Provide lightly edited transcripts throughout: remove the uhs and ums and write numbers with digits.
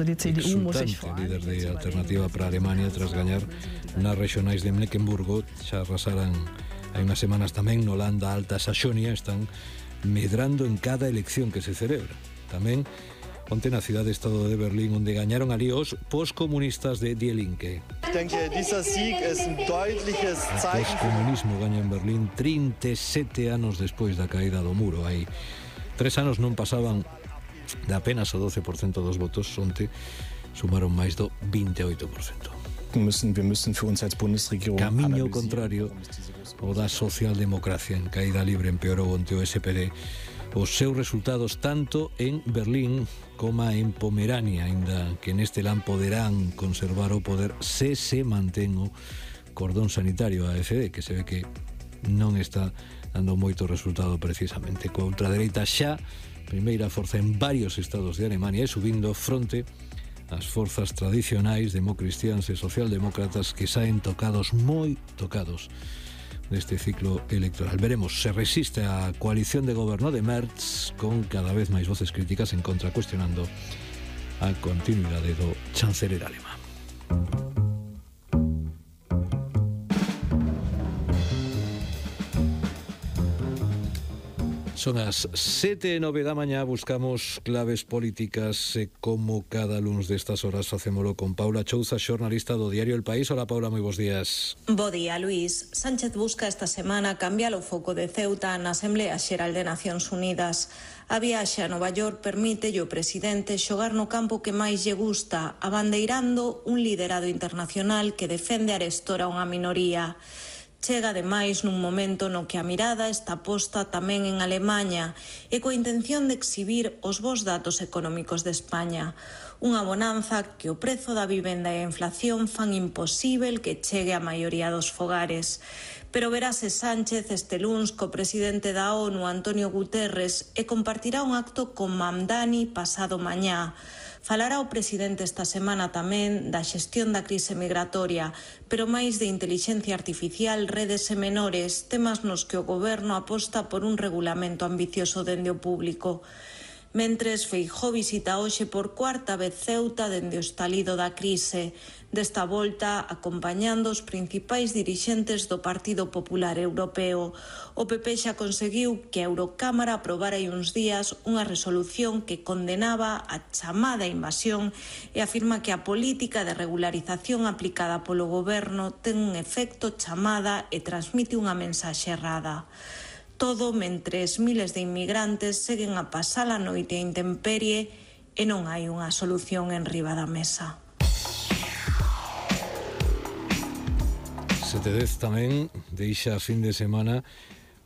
exultante líder de Alternativa para Alemania tras gañar nas regionais de Mecklenburgo. Xa arrasaran hai unhas semanas tamén no Landa Alta Saxonia. Están medrando en cada elección que se celebra. Tamén onte na cidade-estado de Berlín, onde gañaron ali os poscomunistas de Die Linke. Ich denke, dieser Sieg ist ein deutliches O Zeichen. poscomunismo gaña en Berlín 37 anos despois da caída do muro. Hai 3 anos non pasaban de apenas o 12% dos votos. Onte sumaron máis do 28%. Wir müssen für uns als Bundesregierung Camiño contrario o da socialdemocracia. En caída libre empeorou onte o SPD os seus resultados tanto en Berlín como en Pomerania, aínda que neste lan poderán conservar o poder se mantén o cordón sanitario a AfD, que se ve que non está dando moito resultado precisamente. Coa ultradereita xa primeira forza en varios estados de Alemania e subindo fronte ás forzas tradicionais democristiáns e socialdemócratas que saen moi tocados neste ciclo electoral. Veremos se resiste a coalición de goberno de Merz, con cada vez máis voces críticas en contra, cuestionando a continuidade do chanceler alemán. Son as 7:09 da mañá, buscamos claves políticas como cada luns destas horas facémolo con Paula Chouza, xornalista do diario El País. Hola Paula, moi bons días. Bo día, Luís. Sánchez busca esta semana cambiar o foco de Ceuta na Asamblea Xeral de Nacións Unidas. A viaxe a Nova York permite ao presidente xogar no campo que máis lle gusta, abandeirando un liderado internacional que defende arestora unha minoría. Chega ademais nun momento no que a mirada está posta tamén en Alemaña e coa intención de exhibir os bons datos económicos de España. Unha bonanza que o prezo da vivenda e a inflación fan imposível que chegue a maioría dos fogares. Pero verase Sánchez este luns co presidente da ONU, Antonio Guterres, e compartirá un acto con Mamdani pasado mañá. Falará o presidente esta semana tamén da xestión da crise migratoria, pero máis de intelixencia artificial, redes e menores, temas nos que o goberno aposta por un regulamento ambicioso dende o público. Mentres, Feijóo visita hoxe por cuarta vez Ceuta dende o estalido da crise, desta volta acompañando os principais dirixentes do Partido Popular Europeo. O PP xa conseguiu que a Eurocámara aprobara hai uns días unha resolución que condenaba a chamada invasión e afirma que a política de regularización aplicada polo goberno ten un efecto chamada e transmite unha mensaxe errada. Todo mentres miles de inmigrantes seguen a pasar a noite a intemperie e non hai unha solución en riba da mesa. 7:10 tamén deixa a fin de semana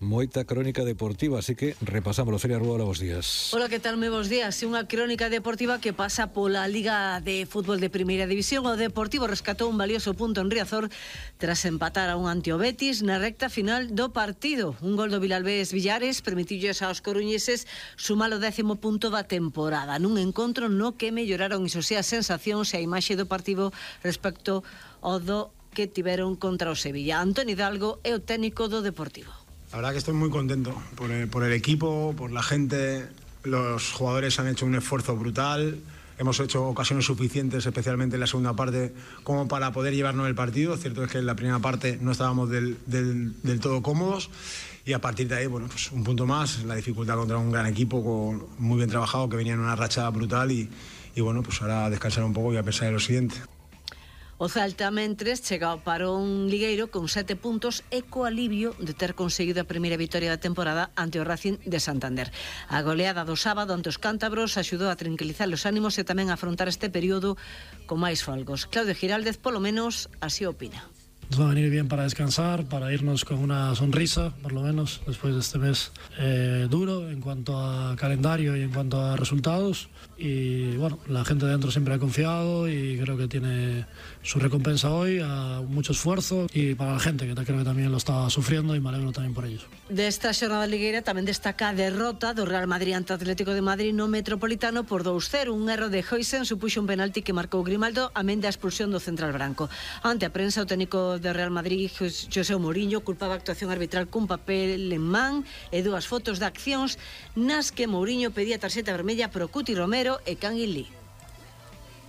moita crónica deportiva, así que repasámoslo. Feria Rúa, hola, bons días. Hola, que tal, moi bons días. Unha crónica deportiva que pasa pola Liga de Fútbol de Primeira División. O Deportivo rescatou un valioso punto en Riazor tras empatar a un ante o Betis na recta final do partido. Un gol do Vilalbés Villares permitilles aos coruñeses sumar o 10º punto da temporada, nun encontro no que melloraron iso as sensacións e a imaxe do partido respecto ao do que tiveron contra o Sevilla. Antoni Hidalgo é o técnico do Deportivo. La verdad que estoy muy contento por el equipo, por la gente. Los jugadores han hecho un esfuerzo brutal. Hemos hecho ocasiones suficientes, especialmente en la segunda parte, como para poder llevarnos el partido. Cierto es que en la primera parte no estábamos del todo cómodos. Y a partir de ahí, bueno, pues un punto más. La dificultad contra un gran equipo muy bien trabajado, que venía en una racha brutal. Y bueno, pues ahora a descansar un poco y a pensar en lo siguiente. O Celta, mentres, chega ao parón ligueiro con 7 puntos e co alivio de ter conseguido a primeira vitoria da temporada ante o Racing de Santander. A goleada do sábado ante os cántabros axudou a tranquilizar os ánimos e tamén a afrontar este período con máis folgos. Claudio Giraldez, polo menos, así opina. Nos va a venir bien para descansar, para irnos con una sonrisa, por lo menos, después de este mes duro en cuanto a calendario y en cuanto a resultados. Y bueno, la gente de dentro siempre ha confiado y creo que tiene su recompensa hoy, a mucho esfuerzo, y para la gente, que creo que también lo está sufriendo, y me alegro también por ellos. Desta xornada ligueira tamén destaca a derrota do Real Madrid ante Atlético de Madrid no Metropolitano por 2-0. Un erro de Huijsen supuxo un penalti que marcou Grimaldo, amén da expulsión do central branco. Ante a prensa, o técnico de Real Madrid, José Mourinho, culpaba a actuación arbitral cun papel en man e dúas fotos de accións nas que Mourinho pedía tarxeta vermella pro Cuti Romero e Kangin Lee.